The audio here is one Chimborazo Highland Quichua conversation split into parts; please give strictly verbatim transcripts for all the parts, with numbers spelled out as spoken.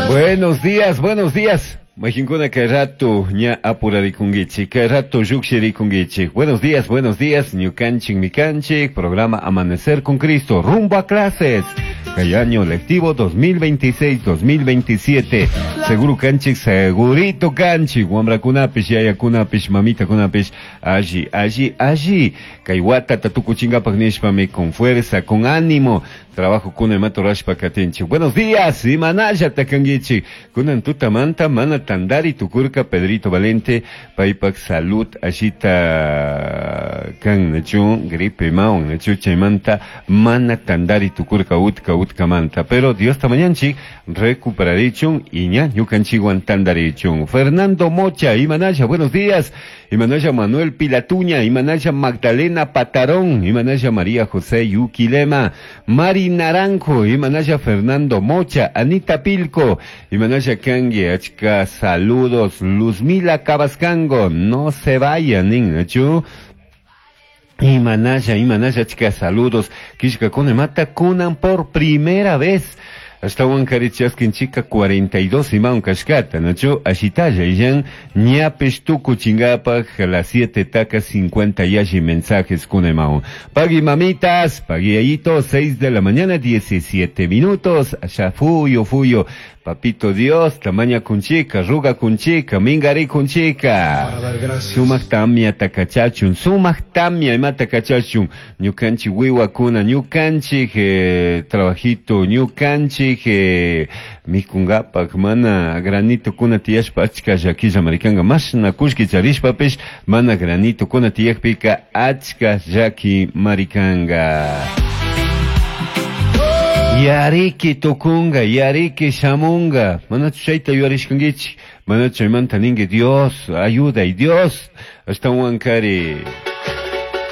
Buenos días, buenos días. Majinkuna kay rato ña apurarikunkichik, kay rato llukshirikunkichik. Buenos días, buenos días, ñukanchik mikanchik, programa Amanecer con Cristo, rumbo a clases. Kay año lectivo dos mil veintiséis-dos mil veintisiete. Seguro kanchik, segurito kanchik, wamrakunapish, yayakunapish, mamitakunapish, alli, alli, alli. Kay watata tukuchinkapak nishpami con fuerza, con ánimo, trabajo kuna imata rurashpa katinchik. Buenos días, imanalla kankichik. Kunan tutamanta mana tandari tukurka Pedrito Valente, paypak salud allita kan nachu, gripe maun nachu, chaymanta mana tandari tukurka utka utkamanta. Pero Dios tamañanchik recuperarichun y ña ñukanchikwan tandarichun. Fernando Mocha, imanalla, buenos días. Imanalla Manuel Pilatuña, imanalla Magdalena Patarón, imanalla María José Yuquilema, Mari Naranjo, imanalla Fernando Mocha, Anita Pilco, imanalla kanki, achka saludos, Luzmila Cabascango, no se vayan, nachu. Imanalla, imanalla, achka saludos. Kishka mata kunan por primera vez. Ashtahuankarin chaskinchika cuarenta y dos imaun kashkata, nachu ashitalla, illan ñapish tukuchinkapak las siete taka cincuenta yalli mensajes kunemaun. Pagui mamitas, pagui ayito, seis de la mañana, diecisiete minutos, allá fuyo, fuyo. Papito Dios, tamaña kunchika, ruga kunchika, mingari kunchika. Para dar gracias. Sumak tamia takachachun, sumak tamia imata kachachun, ñukanchik wiwakuna, ñukanchik eh, trabajito, ñukanchik eh, mikungapak, mana granito kuna tiyashpa achka llakilla marikanga, mashna kullki charishpapish, mana granito kuna tiyakpika achka llaki marikanga. Yariki tukunga, yariki shamunga. Manachu chayta yuyarishkankichik? Manachu chaymanta ninki Dios, ayuda y Dios. Ashtahuankari.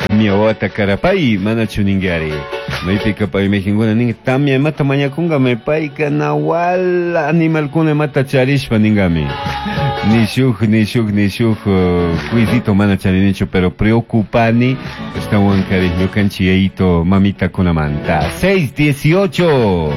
Tamia wawata karapay, manachu ninkari? Maypika pay majinkuna ninki tamia imata mañakunkami payka nawal animalkuna imata charishpa ninkami. Ni shuk, ni shuk, ni shuk, uh, cuisito mana charinichu, pero preocupani, ashtahuankari ñukanchik yayito mamita kunamanta. seis dieciocho.